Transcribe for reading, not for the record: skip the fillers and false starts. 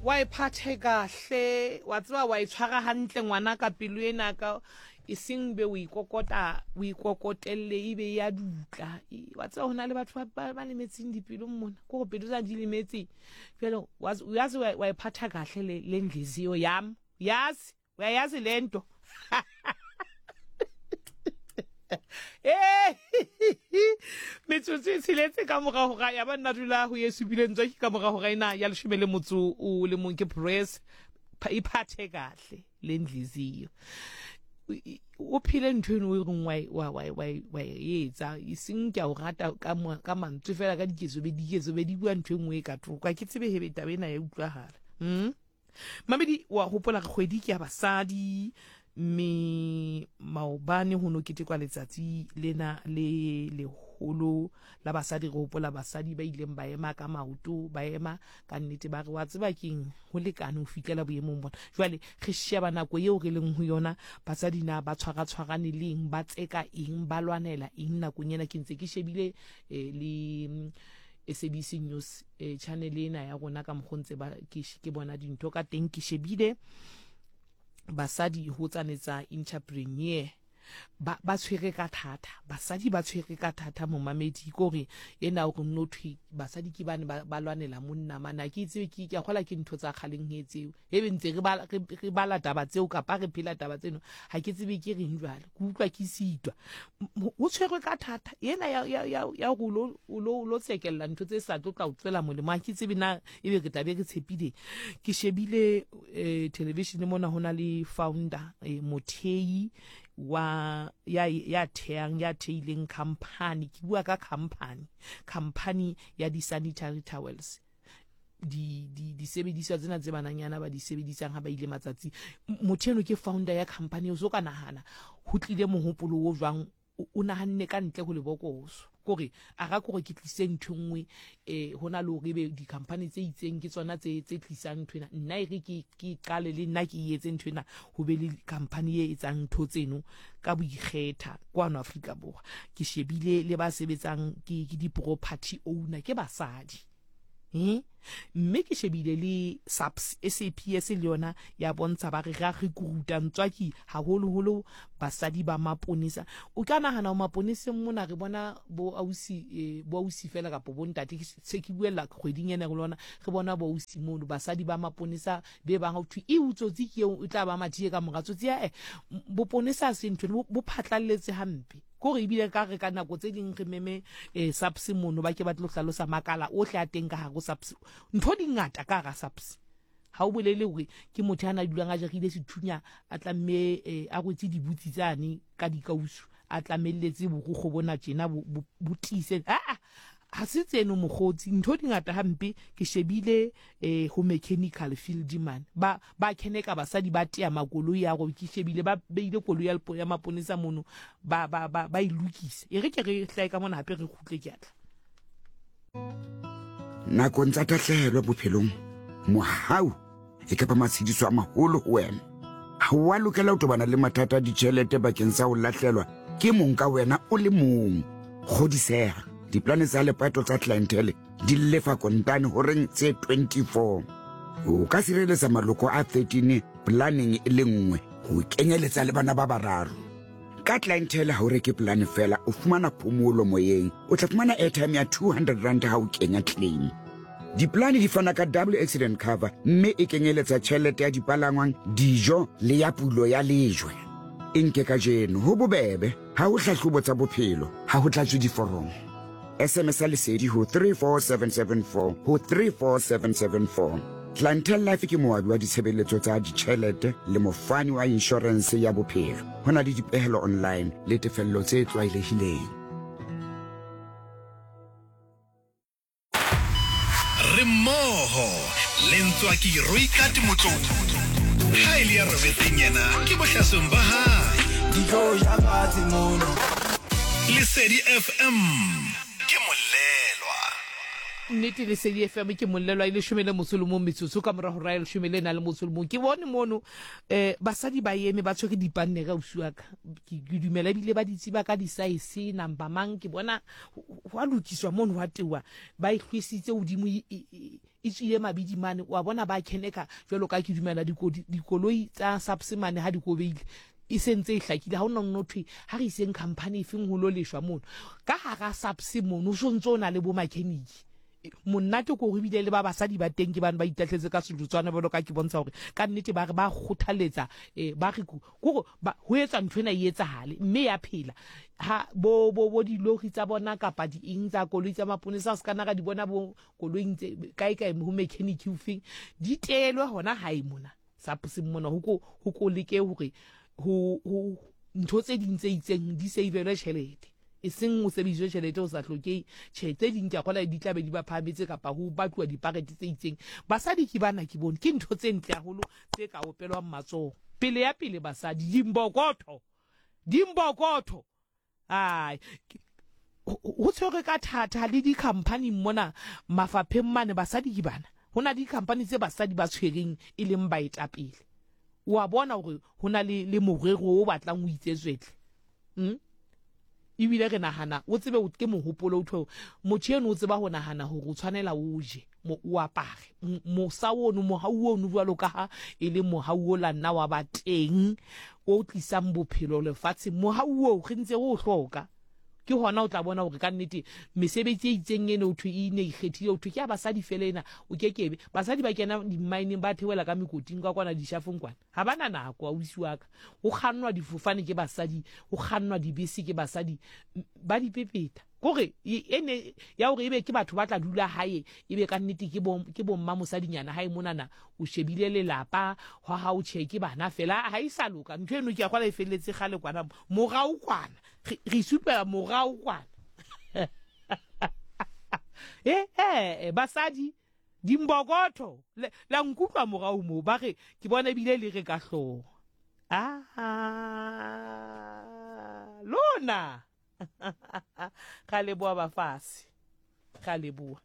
Wa e phathe kahle, wa tseba wa e tshwara hantle ngwana ka pelo ena ka e seng be o ikokota o ikokotelle e be ya dutla. Wa tseba hona le batho ba ba lemetseng dipelo mona, ke gore pelo tsa di lemetse. Jwale uyazi wa e phatha kahle le le ndliziyo yam. Yazi uyayazi le nto. Ee, metsotso e tsheletse ka morago ga ya ba nna dula go ye supileng tswa ke ka morago ga ena ya leshome le motso o le mong ke press iphathe kahle le ndliziyo o phele ntho eno o e reng wa e etsa e seng ke a o rata ka mantswe fela ka diketso be diketso be di bua ntho e nngwe e ka thoko a ke tsebe hebe taba ena ya utlwagala mm? Mamedi wa gopola re kgwedi ke ya basadi mme maobane ho no ketekwa letsatsi lena le leholo la basadi re hopola basadi ba ileng ba ema ka maoto ba ema ka nnete ba re wa tseba keng ho lekane ho fihlela boemong bona jwale re sheba nako eo re leng ho yona basadi na ba tshwaratshwarane leng ba tseka eng ba lwanela eng nakong ena ke ntse ke shebile eh, le SABC News eh, channel ena ya rona ka mokgo ntse ba ke, ke bona dintho ka teng ke shebile basadi ho tsane tsa entrepreneur ba ba tshwere ka thata basadi ba tshwere ka thata momamedi kore ena o re no thwe basadi ke bane ba, ba lwanela monna mana ke tsebe ke ke a kgola ke ntho tsa kgaleng he tseo e be ntse re bala re bala taba tseo kapa re phela taba tseno ha ke tsebe ke reng jwale ke utlwa ke sitwa o tshwerwe ka thata ena ya ya ya ya go lo lo lo tsekella ntho tse sa tlo tla o tswela molemo ha ke tsebe na ebe re tlabe re tshepile ke shebile eh, television mona ho na le founder eh, mothei wa ya ya theang ya theileng company ke bua ka company company ya di sanitary towels di di disebediswa tsena tse bananyana ba di sebedisang ha ba ile matsatsi motho eno ke founder ya company o so ka nahana ho tlile mohopolo o jwang o nahanne ka ntle ho lebokoso kore a ga kore ke tlise ntho nngwe eh ho na le hore ebe di-company tse itseng ke tsona tse tse tlisang ntho ena nna e re ke ke qale le nna ke etse ntho ena ho be le company e etsang ntho tseno ka boikgetha kwano Afrika Borwa ke shebile le ba sebetsang ke ke di-property owner ke basadi Eh? Mme ke shebile le SAPS, SAPS le yona ya bontsha ba re ra recruita ntswaki haholoholo basadi ba maponesa. O ka nahana o maponeseng mona re bona bo ausi eh, bo ausi fela kapa bo ntate se ke buella kgweding ena re lona re bona bo ausi mono basadi ba maponesa be bang ho thwe e utsotsi ke eo o tla ba mathiye ka mora tsotsi ya eh boponesa se ntho bo phatlalletse hampe. Kore ebile ka re ka nako tse ding re meme eh, SAPS mono ba ke ba tlo hlalosa makala ohle a teng ka hare ho SAPS. Ntho di ngata ka hara SAPS. Ha o bolele hore ke motho a na dulang a jarile sethunya a tlamme eh, a rwetse dibutsi tsane ka dikausu a tlamelletse borukgo bona tjena bo, bo, bo tiise. Aa ha se tseno mokgotsi ntho di ngata hampe ke shebile eh ho mechanical field man ba ba kheneka basadi ba tea makoloi a go ke shebile ba beile koloi ya ya maponesa mono ba ba ba ba e lokisa e re ke re hlae ka mona hape re kgutle ke atla Nakong tsa tahlehelo bophelong, mohau e ka ba matshediso a maholo ho wena. Ha o a lokela ho tobana le mathata a ditjhelete bakeng sa ho lahlelwa ke mong ka wena o le mong. Kgodiseha, diplane tsa lepato tsa Clientele di lefa kontane horeng tse 24. O ka sireletsa maloko a 13 planeng e le nngwe ho kenyeletsa le bana ba bararo. Ka Clientele ha o reke polane fela, o fumana phomolo moyeng. O tla fumana airtime ya 200 rand ha o kenya claim. Dipolane di fana ka double accident cover mme e kenyeletsa tjhelete ya dipalangwang, dijo le ya pulo ya lejwe. E nke kajeno, ho bobebe, ha ho hlahlobo tsa bophelo, ha ho tlatswe diforomo. SMS ya lesedi ho 34774 ho 34774. Clientele Life ke moabi wa ditshebeletso tsa ditjhelete le mofani wa inshorense ya bophelo. Ho na le dipehelo online le tefello tse tlwaelehileng. Re mmogo le Ntswaki Roikat Motlou. Ha e le ya robetseng yena ke bohlasweng ba hae. Di tlo ja fatshe mono. Lesedi FM ke molelwa. Nnete Lesedi FM ke molelwa e leshome le motso le mong metsotso ka mora hora ya leshome le nang le motso le mong. Ke bone mono eh basadi ba eme ba tshwere dipannere ausi wa ka. Ke ke dumela ebile ba di tseba ka di-size number mang ke bona ho a lokiswa mono hwa teuwa ba e hlwesitse hodimo e, e, e, E tswile mabidi mane, wa bona ba kheneka jwalo ka ke dumela dikoloi tsa SAPS mane ha di kobeile e se ntse e hlakile ha ona nno thwe ha re iseng company efeng ho lo leshwa mono ka hara SAPS mono o so ntse o na le bo makheniki monate ko gore ebile le ba basadi ba teng ke bane ba itahletse ka sejotswana jalo ka ke bontsha gore ka nnete ba re ba kgothaletsa um ba re kore ho etsa ntho ena e etsahale mme ya phela ha bo bo bo dilori tsa bona kapa di eng tsa koloi tsa maponesa se kana ra di bona bo koloing tse kae kae ho mechanic ofeng di teelwe hona hae mona sapseng mona ho ko ho ko leke hore ho ho ntho tse ding tse itseng di savelwe tjhelete e seng o sebediswe tjhelete o sa hlokei tjhe tse ding ke a kgola di tlabe di ba phahametse kapa ho batluwa diparete tse itseng basadi ke bana ke bone ke ntho tse ntle haholo tse ka opelwang matsoho pele ya pele basadi dimbokotho dimbokotho Ai, ho tshwerwe ka thata le di-company mona mafapheng mane basadi ke bana. Ho na le di-company tse basadi ba tshwereng e leng baetapele. O a bona hore ho na le, le morero o batlang o itsetswetle. Mm? Ebile re nahana, o tsebe ke mohopolo o thwe motho eno o tseba ho nahana hore o tshwanela o je, o apare. Mosa ono, mohau ono jwalo ka ha e le mohau o la nna wa ba teng o tlisang bophelo lefatsheng, mohau oo re ntse re o hloka. Ke hona o tla bona hore ka nnete mesebetsi e itseng ene ho thwe e ne ikgethile, ho thwe ke ya basadi fela ena, o ke kebe. Basadi ba kena dimmaeneng, ba theohela ka mekoting ka kwana dishafong kwana. Ha ba na nako, ausi wa ka. Ho kgannwa difofane ke basadi, ho kgannwa dibese ke basadi, ba di pepeta. Kore e ne ya hore ebe ke batho ba tla dula hae, ebe ka nnete ke bo ke bo mma mosadinyana hae monana, o shebile lelapa hwa hao, tjhe ke bana fela, ha e sa loka. Ntho eno ke a kgola e felletse kgale kwana, morao kwana. Re re supela morao kwana. Eh eh basadi dimbokotho la nkutlwa morao moo ba re ke bona ebile le re ka hlooho. Ah lona. Ra leboha bafase. Ra leboha.